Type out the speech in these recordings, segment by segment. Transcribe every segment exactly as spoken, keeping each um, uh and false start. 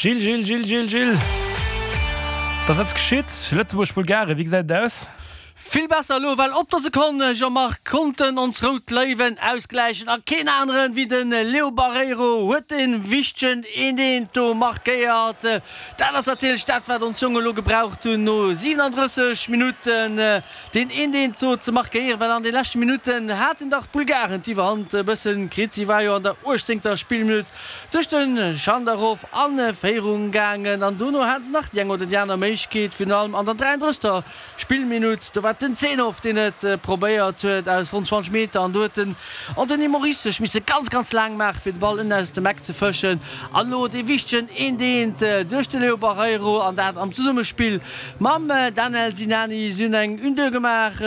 Gilles, Gilles, Gilles, Gilles, Gilles. Et ass eppes geschitt. Lëtzebuerg, Bulgarien, wéi gesäit et aus? Vill besser elo, well op der Sekonn, Jean-Marc, konnten ons Rout Léiwen ausgläichen a keen aneren wéi de Leo Barreiro huet dee wichtegen eent eent do markéiert. Dat ass natierlech dat, wat ons Jongen elo gebraucht hunn no siwenandrësseg Minutten, deen eent eent do ze markéieren, well an de leschte Minutten haten dach d'Bulgaren d'Iwwerhand e bëssen kritt. Si war jo an der uechtzéngter Spillminutt duerch de Schandarov a Féierung gaangen an dono hate se nach déi eng oder déi aner Méiglechkeet, virun allem an der dräiandrëssegter Spillminutt. Do war et den Zenov, deen et probéiert huet aus ronn zwanzeg Meter an do huet den Anthony Moris sech misse ganz, ganz laang maachen, fir de Ball ënnen aus dem Eck ze fëschen. An elo dee wichtegen Eent-Eent duerch de Leo Barreiro an dat am Zesummespill mam Danel Sinani. Si hunn eng Une-Deux gemaach,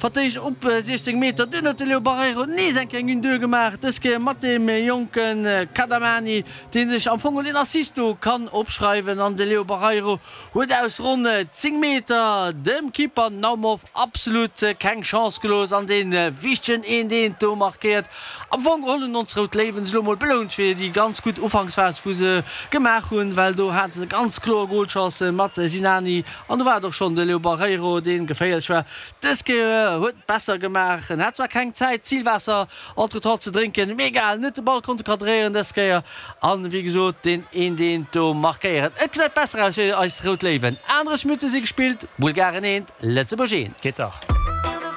vertéischt op siechzéng Meter. Dunn huet de Leo Barreiro nees eng Kéier eng Une-Deux gemaach, dës Kéier mat deem jonke Kadamani, dee sech am Fong een Assist do kann opschreiwen. An de Leo Barreiro huet aus ronn zéng Meter dem Keeper Naumov absolut keng Chance gelooss an dee wichtegen Eent-Eent do markéiert. Am Fong geholl hunn ons Rout Léiwen sech elo mol belount fir déi ganz gutt Ufanksphas wou se gemaach hunn, well do hate se ganz kloer Golchancë mat Sinani an do war et och schonn de Leo Barreiro dee geféierlech war. Dës Kéier huet et besser gemaach, en hat zwar keng Zäit Zilwaasser entretemps ze drénken, mee egal, en huet de Ball konnte kadréieren dës Kéier an wéi gesot deen Eent-Eent do markéieren. Et gesäit besser aus fir eis Rout Léiwen. Anereg Minutte si gespillt, Bulgaren eent, Lëtzebuerg eent. Geet dach.